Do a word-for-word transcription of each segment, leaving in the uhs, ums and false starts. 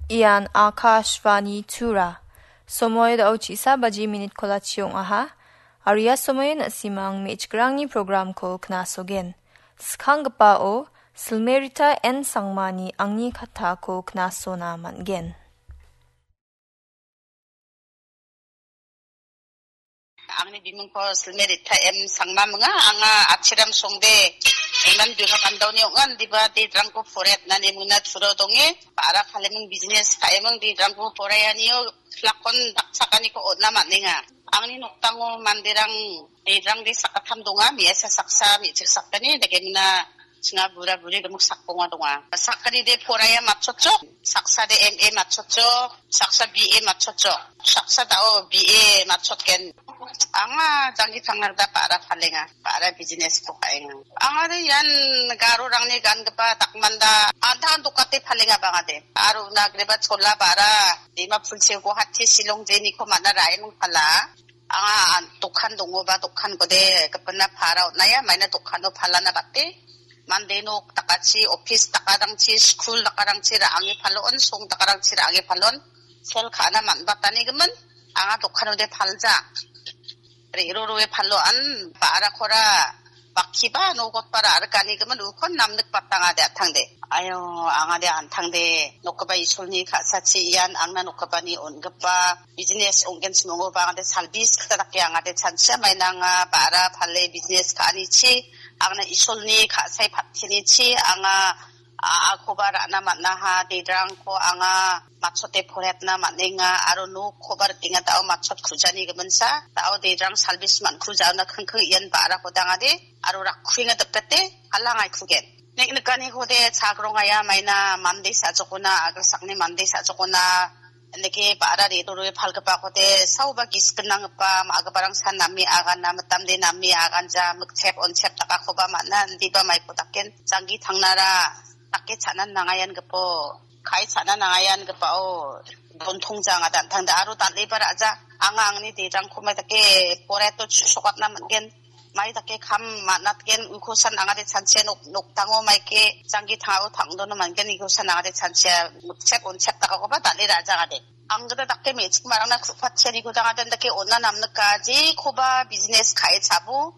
Ian Akashvani Tura. Somoi da·o chisa baji minit kolachi ong·aha. Aria somoi na·simang me·chikrangni programko knasogen. Skanggipao Silmerita N Sangmani angni katako knasona man·gen. Angni bimingko Silmerita M Sangma minga, anga Achiram Songde, Iman Bima Kandaoni ongan diba de drangko foret nani muna turo donge, para kaleming business kaeming de drangko foreyanio lakon dakchakaniko ona man·enga. Angni noktango manderang de drang de sakatam donga, me·asa saksa, me·chik sakgni, dake muna chinga bura buri gemuk sakbonga donga. Sakgni de poraya matchotchok, saksa de M A matchotchok, saksa B A matchotchok, saksa da·o B A matchotgen. Anga janggi tangna gita ba·ra palenga, ba·ra business-ko ka·enga. Anga de ian garorangni gangipa dakmanda antan dokate palenga bangade. Aro nagreba chola ba·ra, Dimapur se Guwahati, Shillong jeniko man·a ra·eming pala. Anga an-, dokan dongoba, dokankode gipina para on·aia, maina dokano palana bate. Mande nok dakachi, office dakarangchi, school dakarangchi ra·ange palon, song dakarangchi ra·ange palon. Sel ka·na man·batanigimin, anga dokanode palja. Re·ro roe palo an, ba·rakora, bakkiba nogotbara arganigimin ukon namnik batangade atangde. Ayo, angade antangde, nokgipa Isolni ka·sachi ian angna nokgipani on·gipa business ong·genchim ong·oba angade salbis kita dake angade chanchia mainanga ba·ra pale business ka·anichi angna Isolni ka·sai pattinichi anga a-, akoba ra·na man·aha, dedrangko anga matchote poretna man·enga aro nokkoba rikenga da·o matchot kujani giminsa, da·o dedrang salbis man·kujaona kingking ian ba·rako dangade aro rakkuenga dipete alangaikugen. Nek nikaniko de chagrongaya maina mande sa·jokona, agilsakni mande sa·jokona, indake ba·ra re·ro roe palgipakode saoba gisik gnanggipa ma·giparang san name agana, mitamde name aganja, mikchep onchep dakakoba man·a, indiba maiko daken janggi tangnara dake cha·nan nangayan gipo, kai cha·nan nangayan gipao dontongja anga dantangde aro dal·eba ra·ja, anga angni derangko mai dake poreto chu·sokatna man·gen. Mai dake kam man·atgen, uko san angade chanchia nok-, nokdango maike janggi tangao tangdono man·gen, uko san angade chanchia chek on chek dakakoba dal·e ra·jagade. Ang gita dake me·chik marangna ku·patchianiko dangade dake on·a namnika, jekoba business ka·e chabo,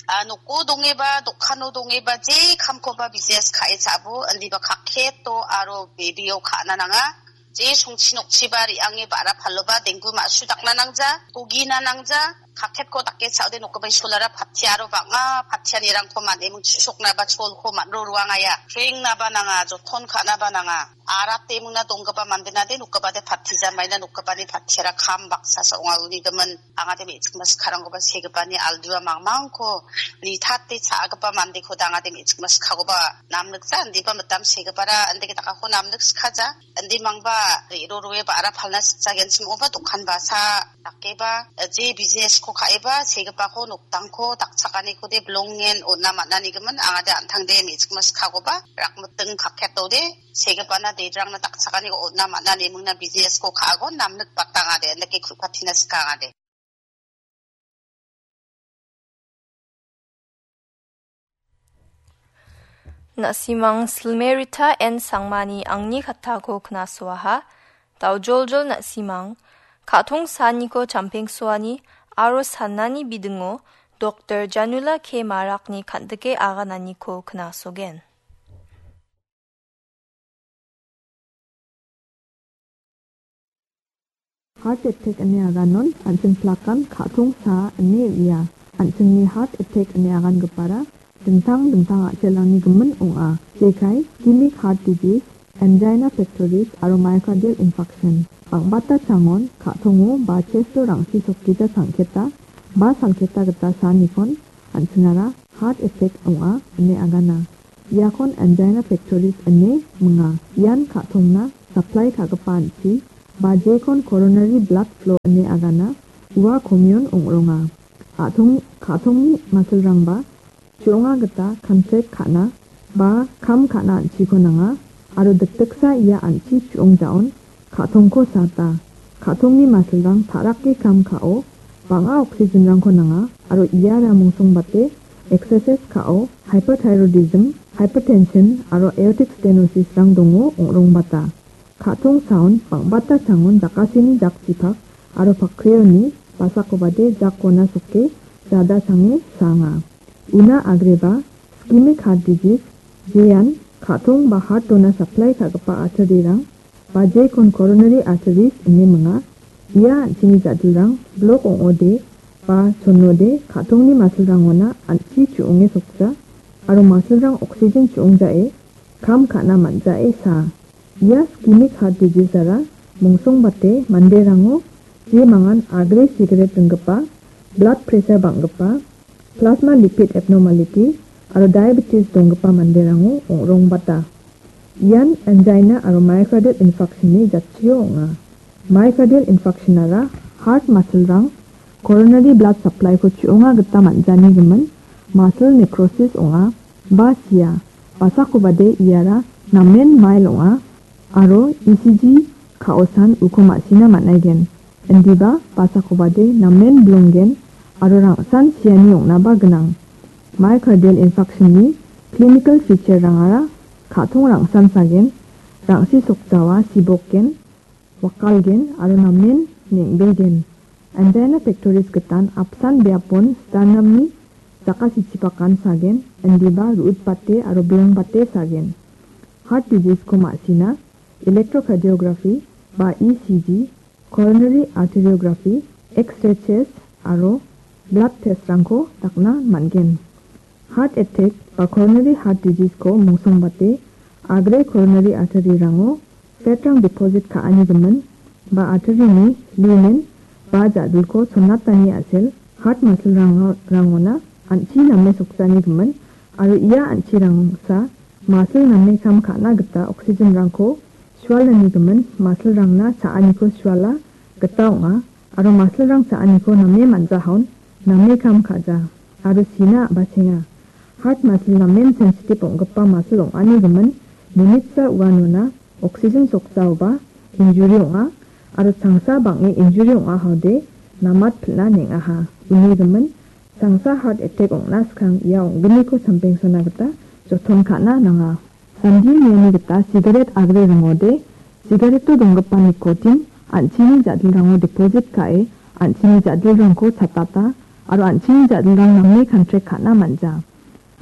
a, noko dongeba, dokano dongeba, je kamkoba business ka·e chabo, indiba kaketo aro bebeo ka·na nanga. Je songchi nokchiba re·ange ba·ra paloba denggu ma·su dakna nangja, togina nangja, kaketko dake cha·ode nokgipa isolara pattiaro bang·a pattianirangko man·eming chu·soknaba cholko man·ro ruangaia. Prengnaba nanga, joton ka·naba nanga. Arate mingna donggipa mandenade nokgipade pattija maina nokgipani pattiara kam baksa sa ong·a uni gimin. Angade me·chikma sikarangkoba segipani aldua mangmangko nitate cha·gipa mandeko dangade me·chikma sikakoba namnikja, indiba mitam segipara indake dakako namnik sikaja. Indi mangba re·ro roe ba·ra palna sikjagenchim ong·oba dokan basa dakeba, je business-ko ka·eba segipako nokdangko dakchakaniko de bilongen on·a man·anigimin angade an·tangde me·chikma sikakoba rakmiting kaketode segipana dedrangna dakchakaniko on·a man·ani mingna business-ko ka·agon namnik batangade indake ku·patina sikangade. Na·simang Silmerita N Sangmani angni katako knasoaha, daojoljol na·simang, ka·tong saniko champengsoani aro sanani bidingo Doktor Janula K Marakni kan·dike agananiko knasogen. Heart attack ine aganon an·ching plakan ka·tong sa ine uia. An·chingni heart attack ine agangipara dingtang dingtang a·selrangni gimin ong·a. Jekai, ischemic heart disease, angina pectoris aro myocardial infarction. Bang·bata changon ka·tongo ba chesto rangsi sokgija changketa ba salketa gita sanikon an·chingara heart attack ong·a ine agana. Iakon angina pectoris ine minga. Ian ka·tongna supply ka·gipa an·chi, ba jekon coronary blood flow ine agana, ua komion ong·ronga. A·tong-, ka·tongni masilrangba chu·onga gita contract ka·na ba kam ka·na an·chiko nanga, aro dikdiksa ia an·chi chu·ong ja·on ka·tongko sata. Ka·tongni masilrang ta·rake kam ka·o, bang·a oxygen-rangko nanga, aro iara mungsongbate exercise ka·o, hyperthyroidism, hypertension, aro aortic stenosis-rang dongo ong·rongbata. Ka·tong saon bang·bata changon jakasini jakchipak aro pakreoni basakobade jakona soke jada sange sanga. Una agreba ischemic heart disease, jean ka·tong ba heart-ona supply ka·gipa artery-rang ba jekon coronary arteries ine minga. Ia an·chini ja·dilrang blok ong·ode ba chonode ka·tongni masilrangona an·chi chu·onge sokja aro masilrang oxygen chu·ongjae kam ka·na man·jae saa. Ia ischemic heart disease-ara mongsongbate manderango je mangan agre sigaret ringgipa, blood pressure bang·gipa, plasma lipid abnormality aro diabetes donggipa manderango ong·rongbata. Ian angina aro myocardial infarction-ni jatchio ong·a. Myocardial infarction-ara heart masilrang coronary blood supply-ko chu·onga gita man·jani gimin muscle necrosis ong·a ba sia. Basakobade iara namen mild ong·a aro E C G ka·osan uko ma·sina man·aigen. Indiba basakobade namen bilonggen aro rangsan siani ong·naba gnang. Myocardial infarction-ni clinical feature-rangara ka·tong rangsan sagen, rangsi sokjawa sibokgen, wakalgen aro namen neng·belgen. Angina pectoris gitan apsan biapon sternum-ni jakasichipakan sagen, indiba ru·utbate aro bilongbate sagen. Heart disease-ko ma·sina electrocardiography ba E C G, coronary arteriography, X-ray chest aro blood test-rangko dakna man·gen. Heart attack ba coronary heart disease-ko mongsongbate agre coronary artery-rango fat-rang deposit ka·ani gimin ba artery-ni lumen ba ja·dilko chonatani a·sel heart muscle-rango-, rangona an·chi name sokjani gimin aro ia an·chirangsa muscle name kam ka·na gita oxygen-rangko sualani gimin muscle-rangna cha·aniko suala gita ong·a aro muscle-rang cha·aniko name man·jahaon name kam ka·ja aro sina a·bachenga. Heart muscle namen sensitive ong·gipa muscle ong·ani gimin minitsa uanona oxygen sokjaoba injury ong·a aro changsa bang·e injury ong·ahaode namat pil·na neng·aha. Uni gimin changsa heart attack ong·na skang ia ong·gniko champengsona gita joton ka·na nanga. Sandi niani gita sigaret agre ringode, sigareto donggipa nikotin an·chini ja·dilrango deposit ka·e, an·chini ja·dilrangko chatata aro an·chini ja·dilrang name kantrek ka·na man·ja.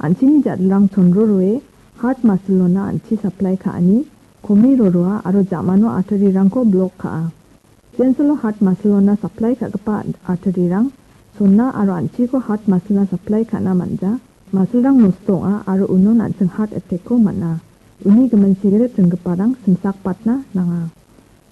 An·chini ja·dilrang chonroroe heart muscle-ona an·chi supply ka·ani, komi roroa aro ja·mano artery-rangko blok ka·a. Jensolo heart muscle-ona supply ka·gipa artery-rang sonna aro an·chiko heart muscle-na supply ka·na man·ja. Muscle-rang nosto ong·a aro unon an·ching heart attack-ko man·a. Uni gimin sigaret ringgiparang simsakpatna nanga.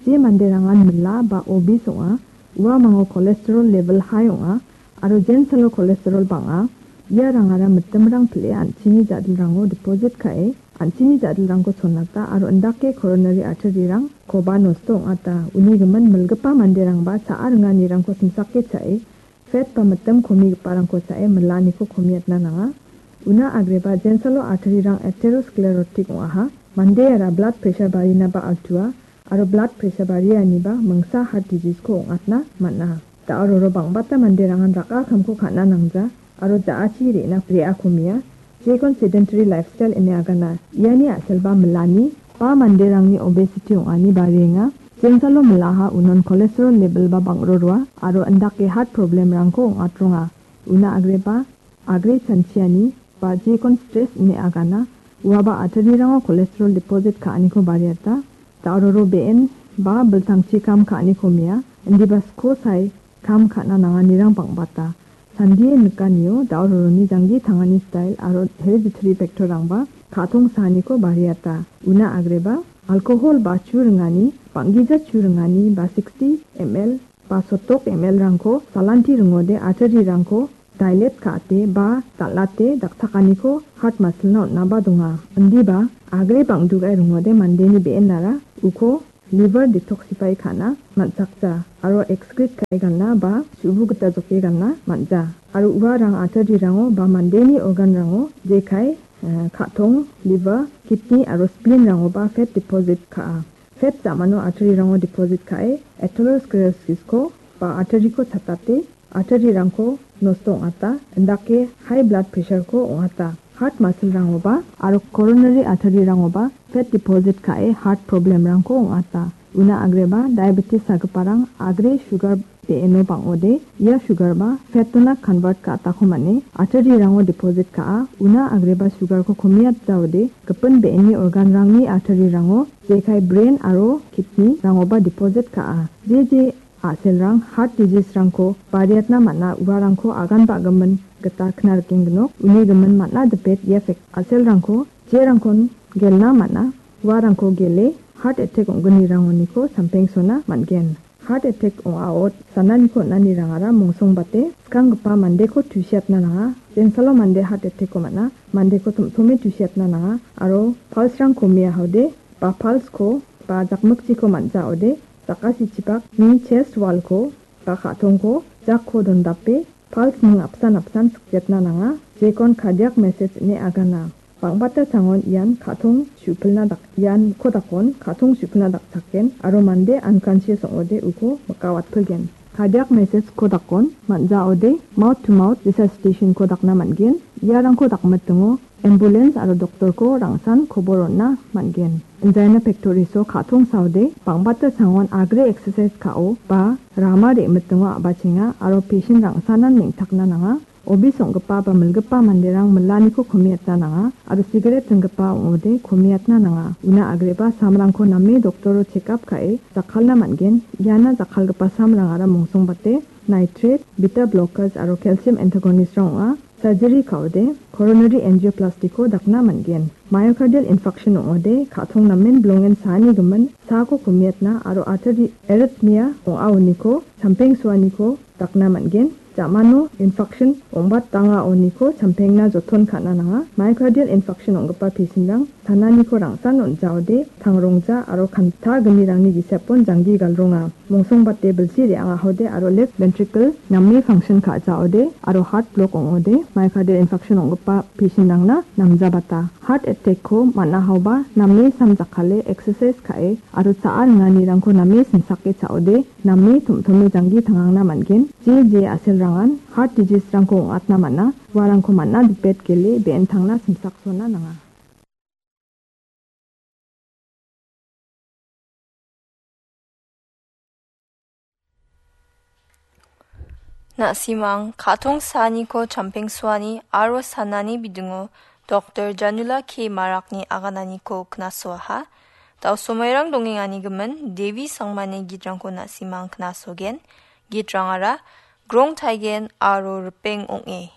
Je manderangan mila ba obese ong·a, uamango cholesterol level high ong·a aro jensalo cholesterol bang·a, iarangara mitimrang pile an·chini ja·dilrango deposit ka·e, an·chini ja·dilrangko chonata aro indake coronary artery-rangkoba nosto ong·ata. Uni gimin milgipa manderangba cha·a ringanirangko simsake cha·e, fat ba mitim komigiparangko cha·e milaniko komiatna nanga. Una agreba jensalo artery-rang atherosclerotic ong·aha. Mandeara blood pressure barinaba altua aro blood pressure barianiba mingsa heart disease-ko ong·atna man·a. Da·o roro bang·bata manderangan raka kamko ka·na nangja aro ja·achi re·na re·akomia. Jekon sedentary lifestyle ine agana. Iani a·selba milani ba manderangni obesity ong·ani barienga. Jensalo milaha unon cholesterol level ba bang·roroa aro indake heart problem-rangko ong·atronga. Una agreba agre chanchiani ba jekon stress ine agana. Uaba artery-rango cholesterol deposit ka·aniko bariata. Da·o roro be·en ba biltangchi kam ka·aniko mia. Indiba sko sae kam ka·na nanganirang bang·bata. Sandie nikanio da·o roroni janggi tangani style aro hereditary factor-rangba ka·tong saaniko bariata. Una agreba alcohol ba chu ringani, bang·gija chu ringani ba sixty M L ba sotok M L-rangko salanti ringode artery-rangko dilate ka·ate ba dal·ate dakchakaniko heart muscle-na on·aba donga. Indiba agre bang·dugae ringode mandeni be·enara uko liver detoxify ka·na man·chakja aro excrete ka·e gana ba su·bu gita joke gana man·ja. Aro uarang artery-rango ba mandeni organ-rango jekai, eh, ka·tong, liver, kidney aro spleen-rangoba fat deposit ka·a. Fat ja·mano artery-rango deposit ka·e atherosclerosis-ko ba artery-ko chatate artery-rangko nosto ong·ata, indake high blood pressure-ko ong·ata. Heart muscle-rangoba aro coronary artery-rangoba fat deposit ka·e heart problemrangko ong·ata. Una agreba diabetes sagiparang agre sugar be·eno bang·ode, ia sugarba fatona convert ka·atako man·e arteryrango deposit ka·a. Una agreba sugarko komiatjaode, gipin be·eni organrangni arteryrango, jekai brain aro kidneyrangoba deposit ka·a. Je je a·selrang heart diseaserangko bariatna man·a, uarangko agan ba·gimin gita kna rikengginok. Uni gimin man·a dipet ia fek-, a·selrangko jerangkon gelna man·a, uarangko gele heart attack ong·gnirangoniko sampengsona man·gen. Heart attack ong·ao sananiko on·anirangara mongsongbate skanggipa mandeko tusiatna nanga. Jensalo mande heart attack-ko man·a, mandeko tom·tome tusiatna nanga, aro pulse-rang komia haode, ba pulse-ko, ba jakmikchiko man·jaode, jakasichipakni chest wall-ko, ba ka·tongko, jakko dondape, pulse-ning apsan apsan sikjetna nanga, jekon cardiac message ine agana. Bang·bata sangon ian ka·tong su·pilna dak-, ian kodakon ka·tong su·pilna dakchaken aro mande unconscious ong·ode uko mikawatpilgen. Cardiac message kodakon man·jaode mouth to mouth resuscitation-ko dakna man·gen. Iarangko dakmitingo ambulance aro doktorko rangsan kobor on·na man·gen. Angina pectoris-o ka·tong saode bang·bata sangon agre exercise ka·o ba rama re·mitingo a·bachenga aro patient rangsanan neng·takna nanga. Obis ong·gipa ba milgipa manderang milaniko komiatna nanga aro sigaret singgipa ong·ode komiatna nanga. Una agreba samrangko name doktoro check-up ka·e jakkalna man·gen. Iana jakkalgipa samrangara mongsongbate nitrate, beta blockers aro calcium antagonist-rang ong·a. Surgery ka·ode coronary angioplasty-ko dakna man·gen. Myocardial infarction ong·ode ka·tong namen bilongen saani gimin saako komiatna aro artery arrhythmia ong·aoniko champengsoaniko dakna man·gen. Ja·mano infarction ong·bat dang·aoniko champengna joton ka·na nanga. Myocardial infarction ong·gipa patient-rang sananiko rangsan on·jaode tangrongja aro kanta gnirangni gisepon janggi galronga. Mongsongbate bilsi re·angahode aro left ventricle name function ka·jaode aro heart block ong·ode myocardial infarction ong·gipa patient-rangna namjabata. Heart attack-ko man·ahaoba name samjakkale exercise ka·e aro cha·a ringanirangko name simsake cha·ode name tom·tome janggi tangangna man·gen. Je je a·selrangan heart disease-rangko ong·atna man·a, uarangko man·a dipet gele be·entangna simsaksona nanga. Na·simang ka·tong saaniko champengsoani aro sanani bidingo Doktor Janula K Marakni agananiko knasoaha. Dao somairang dongengani gimin Devi Sangmani gitrangko na·simang knasogen. Gitrangara Grong Taigen aro Ripeng Ong·e.